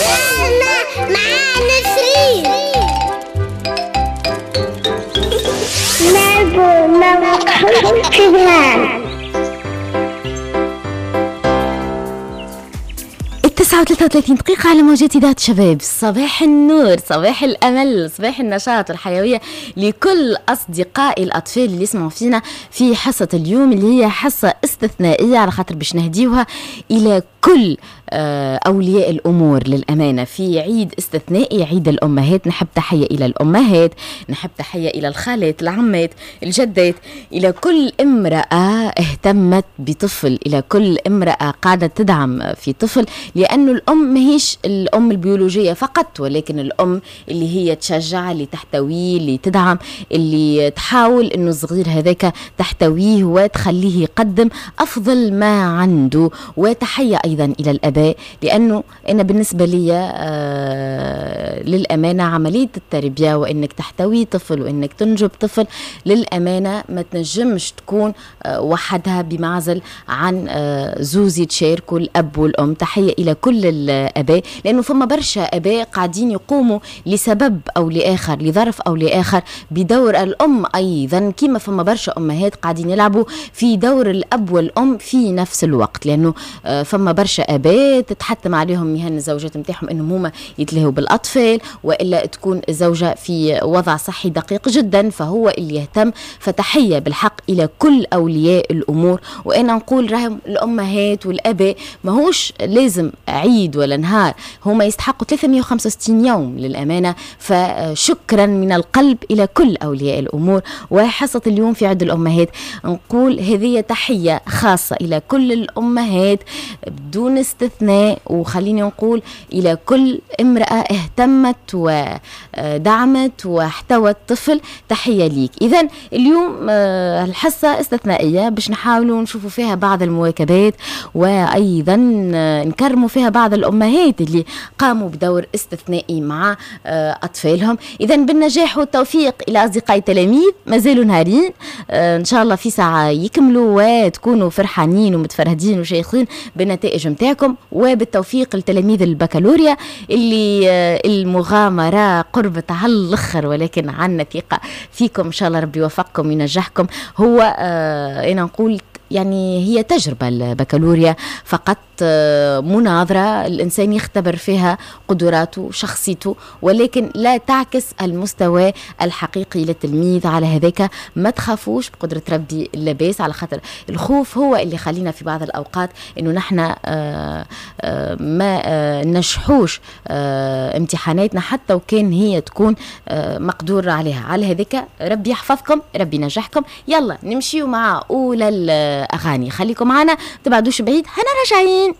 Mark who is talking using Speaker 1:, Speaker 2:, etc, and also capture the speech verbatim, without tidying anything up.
Speaker 1: نسمة مع نسرين.
Speaker 2: التسعة وثلاثة وثلاثين دقيقة على موجات إذاعة شباب. صباح النور، صباح الأمل، صباح النشاط والحيوية لكل أصدقائي الأطفال اللي يسمعوا فينا في حصة اليوم اللي هي حصة استثنائية على خاطر باش نهديوها إلى كل أولياء الأمور للأمانة في عيد استثنائي، عيد الأمهات. نحب تحية إلى الأمهات، نحب تحية إلى الخالات، العمات، الجدات، إلى كل امرأة اهتمت بطفل، إلى كل امرأة قاعدة تدعم في طفل، لأن الأم ماهيش الأم البيولوجية فقط، ولكن الأم اللي هي تشجع، اللي تحتويه، اللي تدعم، اللي تحاول أنه الصغير هذاك تحتويه وتخليه يقدم أفضل ما عنده. وتحية أيضا إلى الآباء، لأنه أنا بالنسبة لي آه للأمانة عملية التربية وإنك تحتوي طفل وإنك تنجب طفل للأمانة ما تنجمش تكون آه وحدها بمعزل عن آه زوز يتشاركوا الأب والأم. تحية إلى كل الآباء، لأنه فما برشا آباء قاعدين يقوموا لسبب أو لآخر، لظرف أو لآخر، بدور الأم أيضا، كما فما برشا أمهات قاعدين يلعبوا في دور الأب والأم في نفس الوقت، لأنه آه فما برشا آباء تتحتم عليهم مهن الزوجات نتاعهم انهم هما يتلهوا بالاطفال، والا تكون الزوجة في وضع صحي دقيق جدا فهو اللي يهتم. فتحيه بالحق الى كل اولياء الامور، وانا نقول راهم الامهات والاباء ماهوش لازم عيد ولا نهار، هما يستحقوا ثلاثمية وخمسة وستين يوم للامانة. فشكرا من القلب الى كل اولياء الامور. وحصه اليوم في عيد الامهات نقول هذه تحية خاصة الى كل الامهات بدون استثناء، وخليني نقول إلى كل امرأة اهتمت ودعمت واحتوت طفل، تحية ليك. إذن اليوم الحصة استثنائية باش نحاولوا نشوفوا فيها بعض المواكبات، وأيضا نكرموا فيها بعض الأمهات اللي قاموا بدور استثنائي مع أطفالهم. إذن بالنجاح والتوفيق إلى أصدقائي التلاميذ، مازالوا نهارين إن شاء الله في ساعة يكملوا وتكونوا فرحانين ومتفرهدين وشيخين بالنتائج متاعكم. وبالتوفيق لتلاميذ البكالوريا اللي المغامرة قربت على الآخر، ولكن عنا ثقة فيكم إن شاء الله ربي يوفقكم وينجحكم. هو آه أنا نقول يعني هي تجربة البكالوريا فقط، مناظرة الإنسان يختبر فيها قدراته شخصيته، ولكن لا تعكس المستوى الحقيقي للتلميذ. على هذاك ما تخافوش، بقدرة ربي لاباس، على خاطر الخوف هو اللي خلينا في بعض الأوقات إنه نحن ما نجحوش امتحاناتنا حتى وكان هي تكون مقدور عليها. على هذاك ربي يحفظكم، ربي ينجحكم. يلا نمشيو مع أولى الأغاني، خليكم معنا تبعدوش بعيد، هنا راجعين.